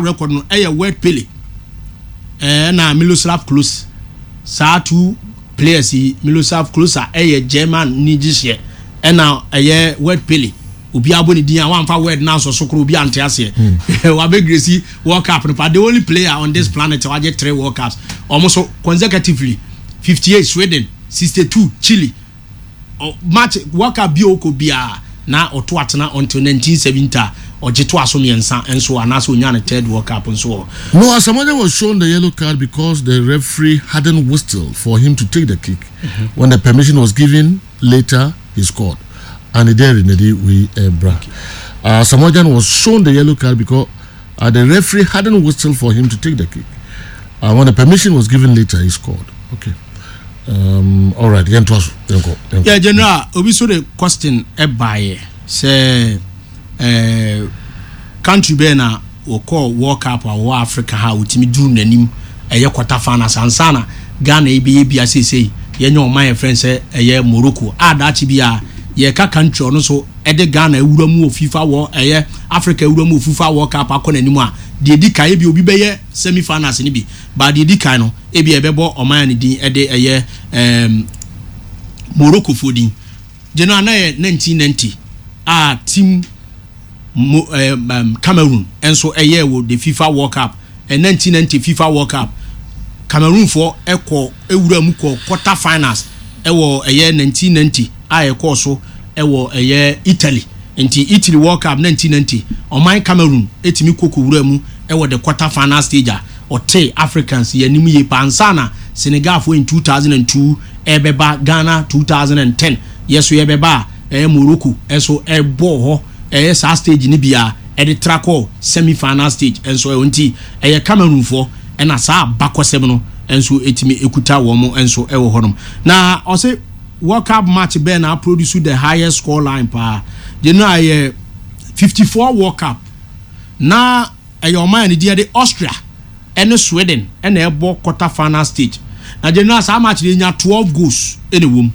Record no ɛyɛ Word Pele ɛna Miroslav Klose saa two players yi Miroslav Klose a ɛyɛ German ni gyehyeɛ ɛna ɛyɛ Word Pele obi abɔ ne din a wamfa word no ansɔ so koro obi ante aseɛ hmm. wabɛgresi World Cup no pa the only player on this planet wagye three World Cups wɔn so consecutively 58 Sweden 62 Chile Match World Cup bi a ɔkɔ biara na ɔto atena until 1970 a ɔgye toa so mmiɛnsa nso anaasɛ ɔnya ne third World Cup nso wɔ. No, Asamoah was shown the yellow card because the referee hadn't whistled for him to take the kick. Mm -hmm. When the permission was given later, he scored. And there we bra. Asamoah was shown the yellow card because uh, the referee hadn't whistled for him to take the kick. Uh, when the permission was given later, he scored. Okay. Um, all right, yɛn to aso, yɛn kɔ. Yeah, general, obi so de question ɛbaayɛ sɛ ɛɛ country bɛyɛ na wɔkɔ World Cup a wɔwɔ Africa ha wɔtumi duru n'anim ɛyɛ quarter finals ansa na Ghana yi bɛyɛ bia seesei yɛnyɛ ɔman yɛ frɛn sɛ ɛyɛ Morocco a daakye bi a yɛka country ɔno so ɛde Ghana awura mu wɔ FIFA wɔ ɛyɛ Africa awura mu wɔ FIFA World Cup akɔ n'anim a deɛ di kan ebi obi bɛyɛ semi finals no bi But deɛ ɛdi kan no, ebia yɛbɛbɔ ɔman a ne din de ɛyɛ ɛɛm Moroccofoɔ din. Gye no a na ɛyɛ 1990 a team Mo ɛɛm ɛm Cameroon nso ɛyɛɛ wɔ the FIFA World Cup. Ɛ 1990 FIFA World Cup, Cameroonfoɔ ɛkɔ ɛwura mu kɔ quarter finals ɛwɔ ɛyɛ 1990 a ɛkɔɔ so ɛwɔ ɛyɛ Italy. Nti Italy World Cup 1990, ɔman Cameroon ɛtumi kɔ kɔwura mu ɛwɔ the quarter final stage a ɔtee Africans yɛn anim yie paa ansa na Senegalfoɔ in 2002 ɛrebɛba Ghana 2010 yɛ so yɛbɛba a ɛyɛ Morocco nso ɛbɔɔ hɔ ɛyɛ saa stage no bi a ɛde tra kɔɔ semi final stage nso ɛwɔ nti ɛyɛ Cameroonfoɔ ɛna saa abakɔsɛm no nso ɛtumi ɛkuta wɔn nso ɛwɔ hɔnom na ɔse World Cup match bɛn na produce the highest score line paa gye no a ɛyɛ 54 World Cup na Ɛyɛ ɔman a ne din de Austria ne Sweden na ɛbɔ quarter final stage. Na general saa match no yɛnya 12 goals na ɛwɔ mu.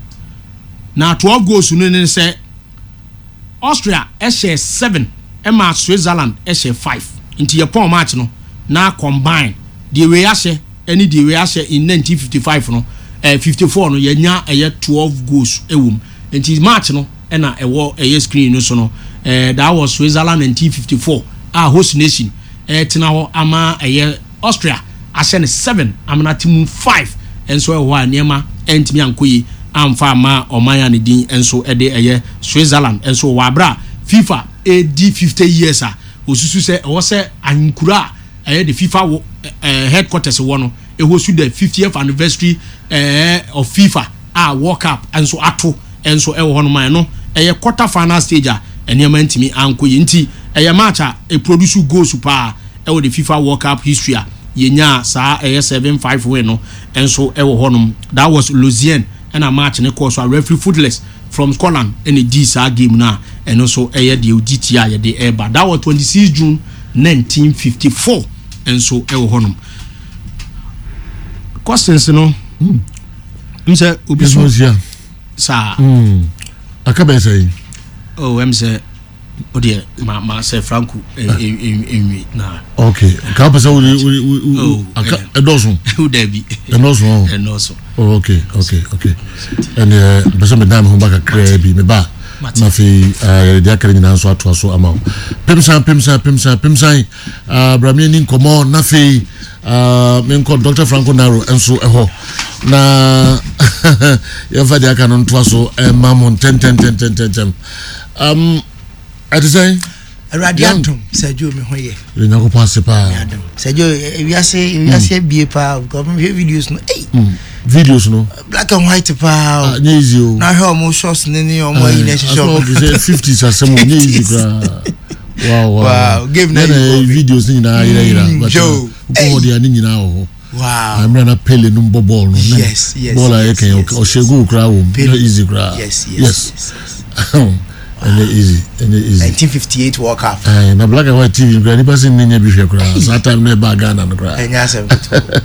Na 12 goals no ne sɛ Austria hyɛɛ 7 ma Switzerland hyɛɛ 5. Nti yɛpɔn match no na combine deɛ wei ahyɛ ne deɛ wei ahyɛ in 1955 no, eh, 54 no yɛnya ɛyɛ 12 goals wɔ mu. Nti match no na ɛwɔ ɛyɛ screen no so no eh, that was Switzerland 1954 a host nation ɛretena hɔ ama ɛyɛ Austria ahyɛ no 7 amena te mu 5 nso ɛwɔ hɔ a nneɛma ɛntumi ankɔ yie amfa ama ɔman a ne din nso ɛde ɛyɛ Switzerland nso wɔ abere a FIFA ɛredi 50 years a osusu sɛ ɛwɔ sɛ ahenkura a ɛyɛ de FIFA wɔ ɛɛ headquarters wɔ no ɛhosu the 50th anniversary ɛɛ of FIFA a World Cup nso ato nso wɔ hɔnom a ɛno ɛyɛ quarter final stage a nneɛma ntumi ankɔ yie nti ɛyɛ match a ɛproduce goals paa ɛwɔ the FIFA World Cup history a yɛnyaa saa ɛyɛ 7-5 win no nso ɛwɔ hɔnom. That was Lausanne ɛna match no kɔɔ so a referee Footless from Scotland ɛna ɛdii saa game no a ɛno nso ɛyɛ deɛ ɔdi tia a yɛde ɛreba. That was 26 June 1954 nso ɛwɔ hɔnom. Questions no. Hmm. M sɛ obi so saa. Hmm. Aka bɛyɛ sɛ yi. Oh, ɛm sɛ o deɛ ma ma sɛ Franco enwi na. Ok, nka pɛ sɛ wode wode wode oh, aka ɛdɔɔso. O dabi. Ɛdɔɔso ɔ. Ɛdɔɔso. Oh, ok ok ok ɛnneɛ mpɛ sɛ medan me ho ba kakraa bi meba na afei yɛde deɛ aka no nyinaa nso atoa so ama wo. Pemsan pemsan pemsan pemsan bra me ani nkɔmmɔ na afei Uh, menkɔ Dr. Franco Naro nso ɛhɔ na yɛmfa deɛ aka no ntoa so ɛma mo ntɛntɛntɛntɛntɛm um, ɛte sɛn awurade adom sɛ dwo me ho yɛ nyankopɔn ase paa sɛ dwo ewiase ewiase hmm. abie paa because mehwɛ videos no ei hmm. videos no black and white paa ah, nyɛ easy o na hwɛ ɔmo shorts ne ne ɔmo ayi na ɛhyehyɛ ɔmo sɛ 50s asɛm o nyɛ easy koraa wow wow wow game na yɛ videos ne nyinaa yera yera mm, but uh, wokɔ hɔ deɛ ne nyinaa wɔ hɔ wow mmerɛ na Pele no mbɔ bɔɔl no yes yes bɔɔl a yɛkɛn ɔhyɛ goal koraa wɔ mu nyɛ easy koraa yes yes ɛnyɛ easy ɛnyɛ easy 1958 World Cup ɛɛ na black and white TV koraa nipa sɛ ne nya bi hwɛ koraa saa time na ɛbaa Ghana no koraa ɛnyɛ asɛm ketewa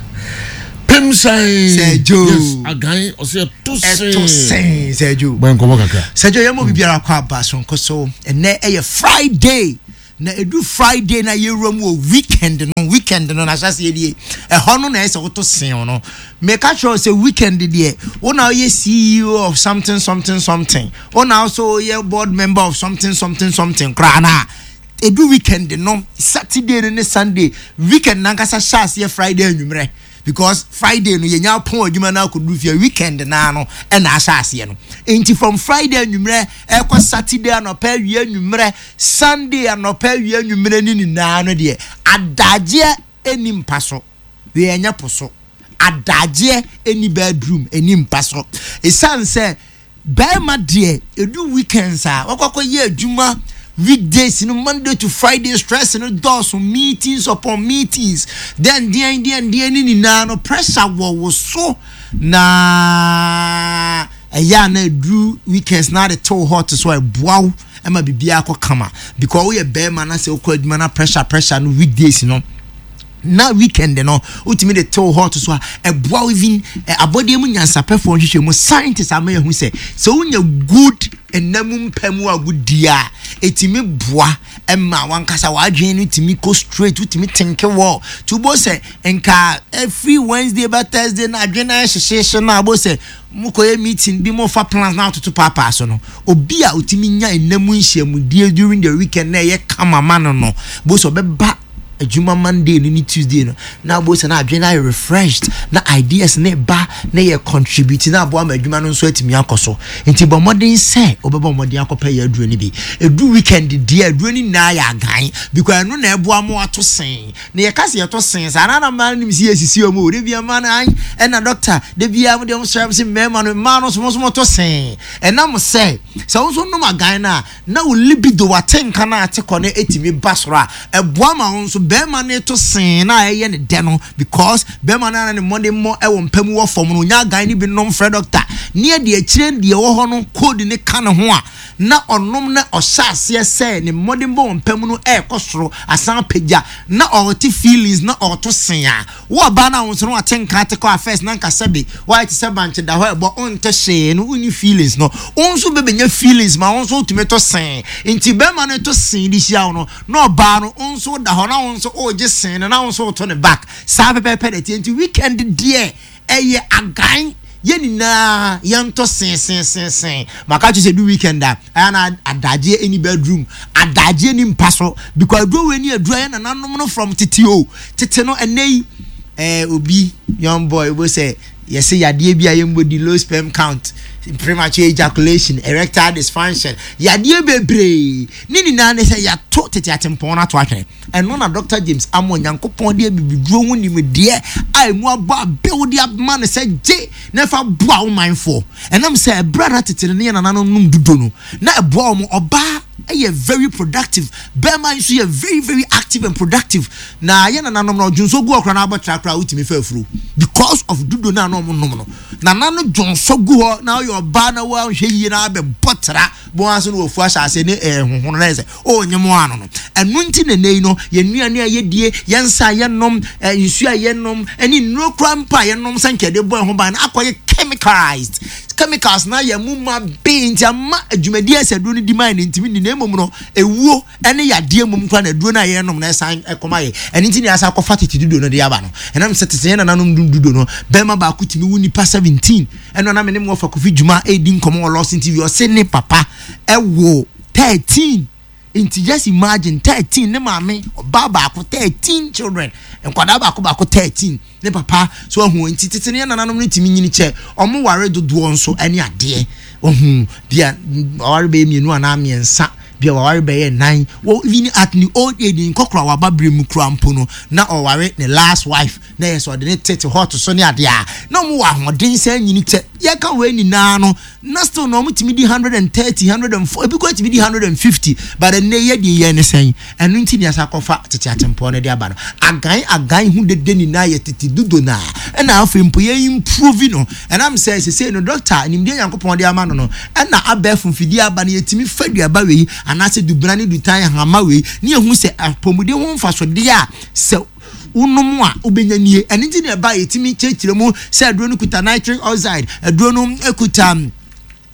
pem sɛn Sir Joe yes agan ɔsɛ ɛto sɛn ɛto sɛn Sir Joe bɔ nkɔmɔ kakra Sir Joe yɛn mo bibiara kɔ aba sonko so ɛnɛ ɛyɛ Friday. Na ɛdu Friday na yɛwura mu wɔ weekend no, weekend no n'ahyɛaseɛ nie, ɛhɔ no na ɛsɛ woto sen no. Meka kyerɛ wo sɛ weekend deɛ, wo na woyɛ CEO of something something something, wo na nso woyɛ board member of something something something koraa no a, ɛdu weekend no, Saturday no ne Sunday, weekend nankasa hyɛ aseɛ Friday anwummerɛ. Because Friday no yɛnya pɔn adwuma no akɔduru fie weekend naa no ɛna ahyɛ aseɛ no. Nti from Friday anwummerɛ ɛkɔ Saturday anɔpa awia anwummerɛ, Sunday anɔpa awia anwummerɛ ne nyinaa no deɛ adagyeɛ ɛni mpa so. Wei ɛnyɛ po so. Adagyeɛ ɛni bedroom ɛni mpa so. Ɛsiane sɛ Barima deɛ ɛdu weekends a wakɔ akɔyɛ adwuma weekdays no Monday to Friday stress no dɔɔso meetings upon meetings then deɛn deɛn deɛn ne nyinaa no pressure wɔ wo so na ɛyɛ a na ɛduru weekends na ade tew hot so a ɛboa wo ɛma biribiara kɔ kama because woyɛ barima na sɛ wokɔ adwuma na pressure pressure no weekdays no na weekend no wotumi de tew hɔ to so a ɛboa wo even eh, abɔdeɛ mu nyansapɛfoɔ nhwehwɛ mu scientists ama yɛhu sɛ sɛ wonya good nna mu mpa mu agodie a ɛtumi boa ma wankasa w'adwene no tumi kɔ straight wotumi tenke wɔ nti wobɔ sɛ nka every Wednesday ba Thursday na adwene no ayɛ hyehyehye no a wobɔ sɛ mokɔyɛ meeting bi mofa plans na atoto paapaa so no obi a otumi nya nna mu nhyiamudie during the weekend na ɛyɛ kama ma no no bo sɛ ɔbɛba adwuma Monday no ne Tuesday no na abo sɛ na adwene no ayɛ refreshed na ideas ne ba na yɛ contribute na aboa ma adwuma no nso atumi akɔ so nti bɔ mmɔden sɛ wobɛbɔ mmɔden akɔpɛ yɛ aduro no bi ɛdu weekend deɛ aduro no nyinaa yɛ agan because ɛno na ɛboa mo ato sen na yɛka sɛ yɛto sen saa na na mmaa no nim sɛ yɛsisi wɔn o de bia mmaa no an ɛna doctor de bia mo deɛ mo srɛ mo sɛ mmarima no mmaa no nso mo nso moto sen ɛnam sɛ sɛ wo nso nom agan no a na wo libido, w'atenka no a ɛte kɔ no tumi ba soro a, ɛboa ma wo nso barima no to see no a ɛyɛ ne dɛ no because barima no a na ne mmɔdemmɔ wɔ mpa mu wɔ fam no, ɔnya agan no bi nom frɛ dɔkta ne ɛde akyire deɛ ɛwɔ hɔ no code no ka ne ho a na ɔnom na ɔhyɛ aseɛ sɛ ne mmɔdemmɔ wɔ mpa mu no ɛrekɔ soro asan apagya na ɔrete feelings na ɔreto see a Wo ɔbaa no a wo nso no wate nka ate kɔ a first na nka sɛbe woayɛ te sɛ bankye da hɔ ɛbɔ wonte hwee no wonni feelings no wo nso wobɛbɛnya feelings ma wo nso wotumi to see nti bɛrima no to see de hyia wo no na ɔbaa no wo nso woda hɔ na wo nso wogye see no na wo nso woto ne back saa pɛpɛɛpɛ na ɛteɛ nti weekend deɛ ɛyɛ agan yɛn nyinaa yɛntɔ sensensensen maka kyerɛ sɛ du weekend a ɛyɛ na adagyeɛ ɛni bedroom adagyeɛ ni mpa so because aduro wei ni aduro yɛ nananom no from tete o tete no ɛnɛ yi ɛɛ obi young boy bo sɛ yɛsɛ yadeɛ bi a yɛmbɔ di low sperm count premature ejaculation erectile dysfunction yadeɛ bebree ne nyinaa ne sɛ yɛato tete atempɔn no ato atwene Ɛno na Dɔkta James ama Onyankopɔn de abibiduro ho nimdeɛ a emu abɔ abew de ama no sɛ gye na fa boa wo manfoɔ. Ɛnam sɛ ɛberɛ a na tete no ne yɛn nananom nom dudo no, na ɛboa wɔn. Ɔbaa yɛ very productive, barima nso yɛ very very active and productive. Na yɛn nananom no, ɔdwonsɔ gu hɔ koraa na abɔtra koraa wotumi fa afuro because of dudo no a na wɔn nom no. Nana no dwonsɔ gu hɔ na ɔyɛ ɔbaa na wanhwɛ yie na abɛbɔ tra bɔn ase na wafu ahyɛ ase ne ɛhohono na yɛ sɛ O nye mo ano no. Ɛno nti na nnɛ yi no, yɛn nnuane a yɛdie, yɛn nsa a yɛnom, nsuo a yɛnom, ne nnuro koraa mpo a yɛnom sɛ nka yɛde bɔ yɛn ho ban no akɔyɛ chemicalized. Chemicals no ayɛ mu ma bee nti ama adwumadie a ɛsɛ aduro no di ma yɛn no ntumi nni na mmom no ewuo ne yadeɛ mmom koraa na aduro no a yɛnom no ɛsan ɛkɔma yɛ. Ɛno nti na yɛasan akɔfa tete dudo no de aba no. Ɛnam sɛ tete yɛn nananom dum dudo no, bɛrima baako tumi wo nipa 17. Ɛno na me ne mo wɔfa Kofi Dwuma ɛredi nkɔmmɔ wɔ Lawson TV ɔse ne papa ɛwo 13 nti just imagine 13 ne maame ɔbaa baako 13 children nkwadaa baako baako 13 ne papa so ahu nti tete ne nananom no tumi nyini kyɛ ɔmo ware dodoɔ nso ɛne adeɛ ɔhu bia ɔware bɛyɛ mmienu anaa mmiɛnsa bia waware bɛyɛ nnan wɔ even at ne old age nkɔkora waba bere mu kura mpo no na ɔware ne last wife na yɛ sɛ ɔde ne tete hot so ne adeɛ a na ɔmo wɔ ahoɔden sɛ nyini kyɛ yɛka wei nyinaa no na still na wɔn tumi di 130 104 ebi kɔ tumi di 150 but ɛnɛ yɛ deɛ yɛn ne sɛn ɛno nti ne asa akɔfa tete atempɔn no de aba no agan agan ho dede nyinaa yɛ tete dodo na ɛna afei mpo yɛ improve no ɛnam sɛ sese no doctor nimdeɛ nyankopɔn de ama no no ɛna abɛɛfo mfidie aba no yɛtumi fa duaba wei anaasɛ dubena ne dutan hama wei ne yɛhu sɛ apɔmuden ho mfasodeɛ a sɛ wonom a wobɛnya nie. Ɛno nti na ɛba a yɛtumi kyerɛkyerɛ mu sɛ aduro no kuta nitric oxide, aduro no kuta.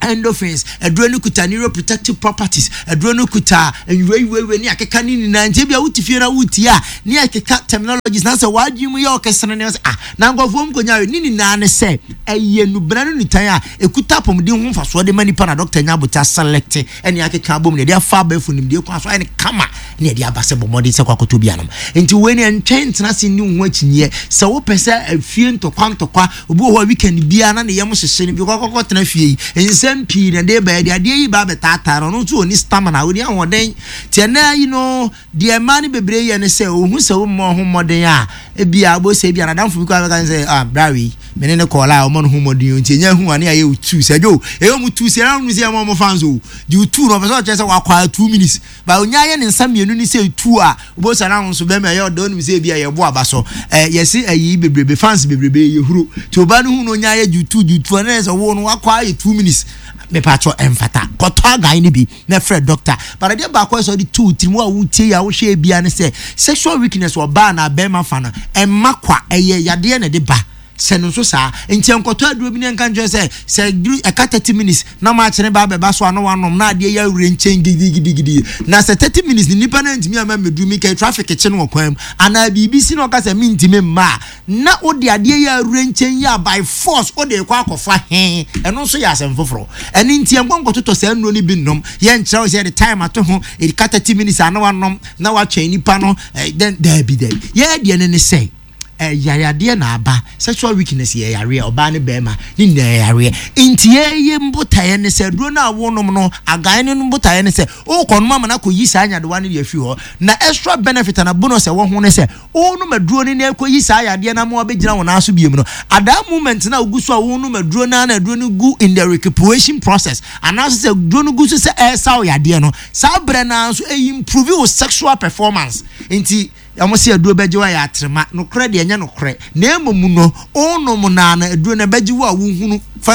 Endorphins, aduro no kuta neuroprotective properties, aduro no kuta nwurawurawura ne akeka ne nyinaa. Nti ebia wote fie na wotie a, ne akeka terminologies na sɛ w'adwene mu yɛ ɔkɛsene ne sɛ ah na nkurɔfoɔ mu kɔnya ne nyinaa ne sɛ ɛyɛ nubena ne nutan a ɛkuta apɔmuden ho mfasoɔ de ma nipa na dɔkta nya abotire aselect ne akeka abom ne ɛde afa abɛɛfo nimdeɛ kwan so ayɛ no kama ne ɛde aba sɛ bɔ mmɔden sɛ kɔ akɔtɔ bi anom. Nti wei ne ɛntwɛn ntena ase nni wo ho akyinnyeɛ. Sɛ wopɛ sɛ afie ntɔkwa ntɔkwa, obi wɔ hɔ a weekend biara na ne yam hyehye no bi kɔkɔkɔ tena fie yi, nsɛm pii na ɛde ba, ɛde adeɛ yi ba abɛtaataa no, ɔno nso ɔnni stamina, ɔnni ahoɔden. Nti ɛnɛ yi no, deɛ mmaa no bebree yɛ ne sɛ, ɔhu sɛ wommɔ ho mmɔden a, ebia wobɛhu sɛ ebia n'adamfo bi koraa bɛka ne sɛ, ah, bra wei, me ne no kɔɔ la a, ɔmmɔ ne ho mmɔden o, nti ɛnya hu a ne ayɛ wo tuu sɛ, dwo, ɛyɛ ɔmo tuu sɛ, ɛna ɔmo sɛ ɛma ɔmo fans o, gye wo tuu no, ɔpɛ sɛ ɔkyerɛ sɛ wakɔ a 2 minutes. Ba onya yɛ ne nsa mmienu ne sɛ tu a, wobɛhu sɛ na wo nso bɛrima ɛyɛ ɔdɔ, wonim sɛ ebi a yɛbo aba so. Ɛ yɛse ayi bebrebe, fans bebrebe yɛ huro. Nti ɔbaa no hu no onya yɛ jutu jutu a, na yɛ sɛ wo no wakɔ ayɛ 2 minutes. Mepatwɔ ɛmfata. Kɔtɔ agan no bi na frɛ doctor. But adeɛ baako a ɛsɛ ɔde to wo tirim wo a wotie yi a wohwɛ ebia ne sɛ sexual weakness ɔbaa anaa bɛrima fa no ɛmma kwa, ɛyɛ yadeɛ na ɛde ba. Sɛ no nso saa. Nti ɛnkɔtɔ aduro bi ne ɛnka nkyerɛ sɛ sɛ duru ɛka 30 minutes na maakye ba abɛba so a na wanom na adeɛ yɛ awure nkyɛn gidigidigidi. Na sɛ 30 minutes ne nipa no antumi ama mmɛduru mi kɛ traffic kye no wɔ kwan mu anaa biribi si na ɔka sɛ mentumi mma a, na wode adeɛ yɛ awure nkyɛn yi a by force wode kɔ akɔfa he, ɛno nso yɛ asɛm foforɔ. Ɛno nti ɛnkɔ nkɔtotɔ saa nnuro no bi nnom. Yɛnkyerɛ wo sɛ yɛde time ato ho, ɛka 30 minutes a na wanom na watwɛn nipa no. Dɛn daabi daabi. Yɛyɛ deɛ no ne sɛ yareadeɛ na aba. Sexual weakness yɛ yareɛ, ɔbaa ne bɛrima ne nyinaa yɛ yareɛ. Nti yɛyɛ mbotaeɛ ne sɛ aduro no a wonom no, agan no mbotaeɛ ne sɛ wokɔ nom ama no akɔyi saa nyadewa no de afiri hɔ. Na extra benefit ana bonus ɛwɔ ho ne sɛ wonom aduro no na ɛkɔyi saa yadeɛ no ama wabɛgyina wo nan so biom no, at that moment na wogu so a wonom aduro no na aduro no gu in the recuperation process anaasɛ sɛ aduro no gu so sɛ ɛresa wo yadeɛ no, saa berɛ no nso ɛyi improve wo sexual performance. Nti wɔn sɛ aduro bɛgye wo ayɛ atrema, nokorɛ deɛ ɛnyɛ nokorɛ, na mmom no wonom naa na aduro no ɛbɛgye wo a wohunu fa.